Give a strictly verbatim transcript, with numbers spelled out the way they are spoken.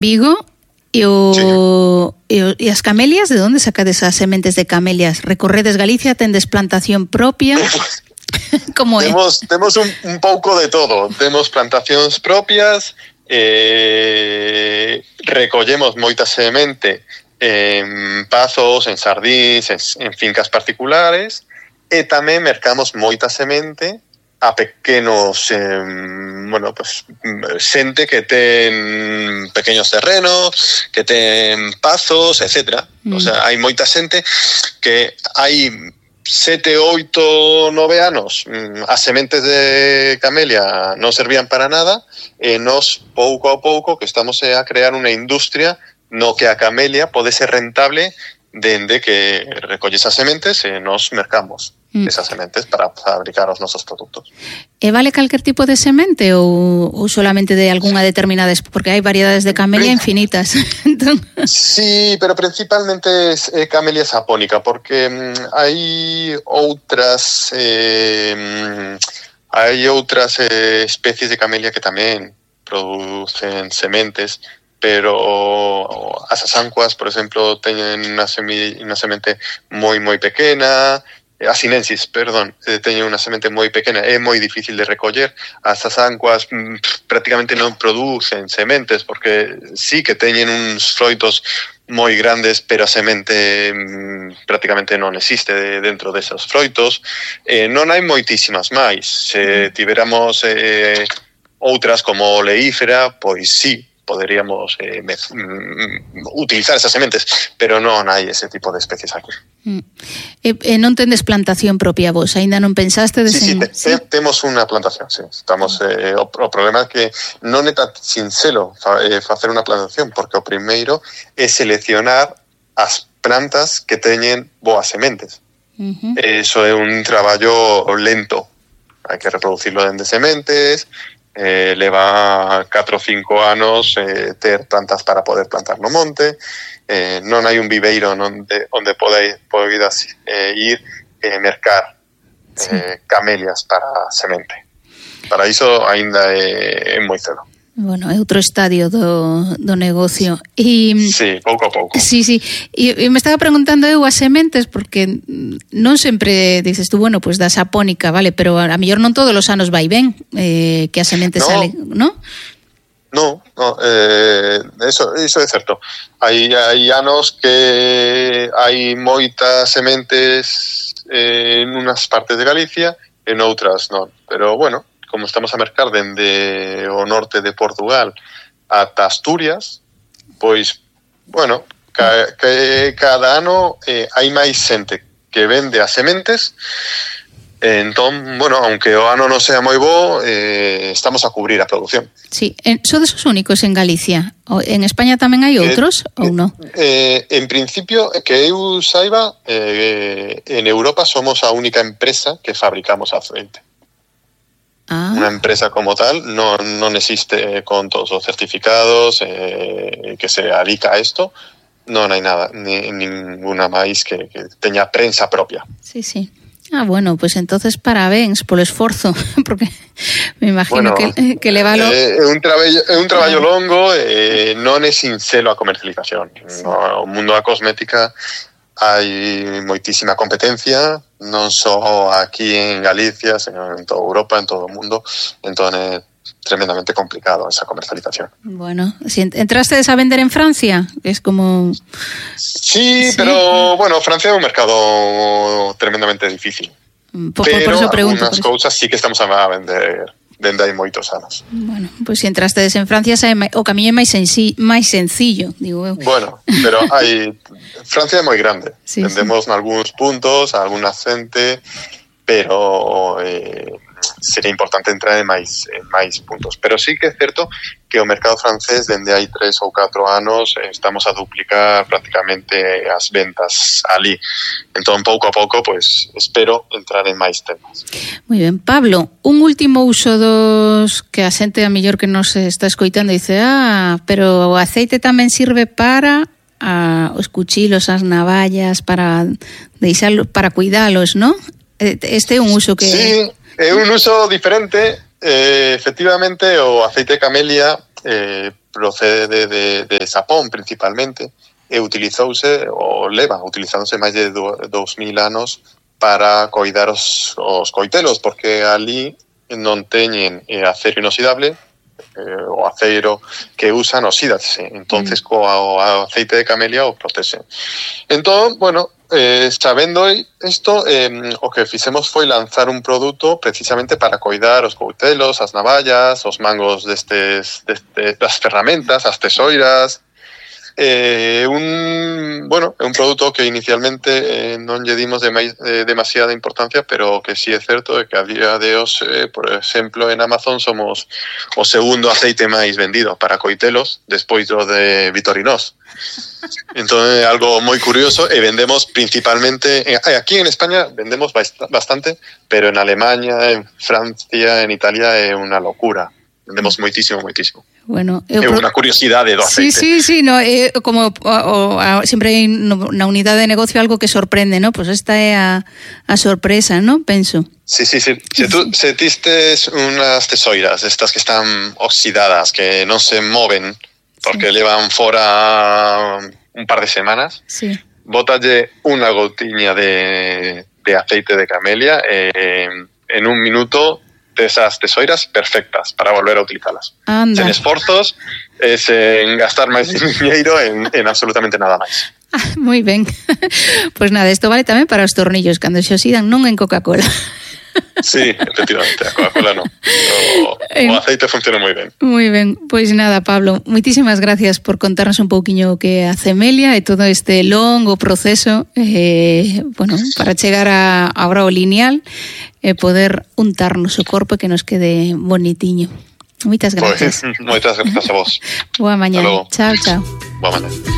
Vigo e o, sí. e, o, e as camelias, de onde sacades as sementes de camelias? Recorredes Galicia, tendes plantación propia? Como é? Temos, temos un, un pouco de todo. Temos plantacións propias, eh, recollemos moita semente en pazos, en sardís, en, en fincas particulares, e tamén mercamos moita semente a pequenos, eh, bueno, pues xente que ten pequeños terrenos, que ten pazos, etcétera. Mm. O sea, hai moita xente que hai sete, oito, nove anos as sementes de camelia non servían para nada, e nos pouco a pouco que estamos a crear unha industria no que a camelia pode ser rentable dende que recolle esas sementes e nos mercamos mm. esas sementes para fabricar os nosos produtos. E vale calquer tipo de semente ou, ou solamente de algunha determinada? Porque hai variedades de camelia Prin- infinitas. Entón... Sí, pero principalmente es eh, camelia sapónica, porque mm, hai outras eh, mm, hai outras eh, especies de camelia que tamén producen sementes, pero as asancuas, por exemplo, teñen unha, semi, unha semente moi, moi pequena, a sinensis, perdón, teñen unha semente moi pequena, é moi difícil de recoller. As asancuas mm, prácticamente non producen sementes, porque sí que teñen uns froitos moi grandes, pero a semente mm, prácticamente non existe de, dentro desos froitos. Eh, non hai moitísimas máis. Se tiveramos eh, outras como oleífera, pois sí, poderíamos eh, me, mm, utilizar esas sementes, pero non hai ese tipo de especies aquí. Mm. E, e non tendes plantación propia vos? Ainda non pensaste? Sí, sí, te, ¿sí? Te, temos unha plantación, sí. Estamos, eh, o, o problema é que non é tan sinxelo fa, eh, facer unha plantación, porque o primeiro é seleccionar as plantas que teñen boas sementes. Uh-huh. Eso é un traballo lento. Hai que reproducirlo dende sementes, Eh, leva catro ou cinco anos eh, ter plantas para poder plantar no monte, eh, non hai un viveiro onde, onde podeis, podeis eh, ir e eh, mercar eh, sí. camelias para semente. Para iso ainda é, é moi cedo. Bueno, é outro estadio do, do negocio. E, sí, pouco a pouco. Sí, sí. E, e me estaba preguntando eu as sementes, porque non sempre dices tú, bueno, pues da sapónica, vale, pero a, a mellor non todos os anos vai ben eh, que as sementes no. salen, non? No, no, eh, eso, eso é certo. Hai, hai anos que hai moitas sementes eh, en unas partes de Galicia, en outras non. Pero, bueno, como estamos a mercar dende o norte de Portugal ata Asturias, pois, bueno, ca, que cada ano eh, hai máis xente que vende as sementes, eh, entón, bueno, aunque o ano non sea moi bo, eh, estamos a cubrir a produción. Sí, sodes os únicos en Galicia? En España tamén hai outros eh, ou non? Eh, en principio, que eu saiba, eh, en Europa somos a única empresa que fabricamos aceite. Ah. Una empresa como tal non, non existe con todos os certificados eh, que se dedica a esto. Non hai nada, ni, ninguna máis que, que teña prensa propia. Sí, sí. Ah, bueno, pues entonces parabéns polo esforzo, porque me imagino bueno, que, que levalo... É eh, un traballo, é un traballo ah. longo e eh, non é sinxelo a comercialización. Sí. No, o mundo da cosmética hai moitísima competencia, non só aquí en Galicia, sino en toda Europa, en todo o mundo, entón é tremendamente complicado esa comercialización. Bueno, si entraste a vender en Francia, es como... Sí, sí, pero bueno, Francia é un mercado tremendamente difícil. Por, pero por eso pregunto, algunas cousas sí que estamos a vender dende hai moitos anos. Bueno, pois pues se entrastes en Francia o camiño é máis, senci, máis sencillo, digo eu. Bueno, pero hai Francia é moi grande. Sí, Vendemos sí. en algúns puntos, a alguna xente, pero eh, sería importante entrar en máis, en máis puntos. Pero sí que é certo que o mercado francés dende hai tres ou catro anos estamos a duplicar prácticamente as ventas ali. Entón, pouco a pouco, pues, espero entrar en máis temas. Moi ben. Pablo, un último uso dos que a xente a mellor que nos está escoitando dice, ah, pero o aceite tamén sirve para a, os cuchilos, as navallas, para deixalo, para cuidalos, ¿no? Este é un uso que... Sí, é un uso diferente. Eh, efectivamente, o aceite de camelia eh, procede de, de, de Xapón principalmente, e utilizouse, ou leva utilizándose máis de dous mil anos para coidar os, os coitelos, porque ali non teñen eh, acero inoxidable, eh, o aceiro que usan oxídase, entonces mm. co aceite de camelia o protexen. Entón, bueno, eh, sabendo isto, eh, o que fixemos foi lanzar un produto precisamente para coidar os coitelos, as navallas, os mangos destes, destes das ferramentas, as tesoiras. Eh, un bueno, é un produto que inicialmente eh, non lle dimos de mai, eh, demasiada importancia, pero que sí é certo é que a día de hoxe, eh, por exemplo, en Amazon somos o segundo aceite máis vendido para coitelos despois do de Vitorinox. Entón é algo moi curioso, e vendemos principalmente eh, aquí en España vendemos bastante, pero en Alemania, en Francia, en Italia é unha locura. Vendemos moitísimo, moitísimo. Bueno, é pro... unha curiosidade do aceite. Sí, sí, sí, no, é como o, o, sempre hai na unidade de negocio algo que sorprende, ¿no? Pois pues esta é a, a sorpresa, ¿no? Penso. Sí, sí, sí. Se tú se tistes unhas tesoiras, estas que están oxidadas, que non se moven, porque sí. levan fora un par de semanas, sí. bótalle unha gotiña de, de aceite de camelia eh, en un minuto esas tesoiras perfectas para volver a utilizarlas. Anda. Sen esforzos, eh, sen gastar máis dinheiro en, en absolutamente nada máis. Ah, moi ben. Pois pues nada, isto vale tamén para os tornillos, cando se oxidan, non en Coca-Cola. Sí, efectivamente, a Coca-Cola non. O, o aceite funciona moi ben. Moi ben, pois pues nada, Pablo, moitísimas gracias por contarnos un pouquiño o que é a Cemelia e todo este longo proceso eh, bueno, para chegar a, a bravo lineal e poder untarnos o corpo e que nos quede bonitiño. Moitas gracias. Pues, moitas gracias a vos. Boa mañá. Chao, chao. Boa mañá.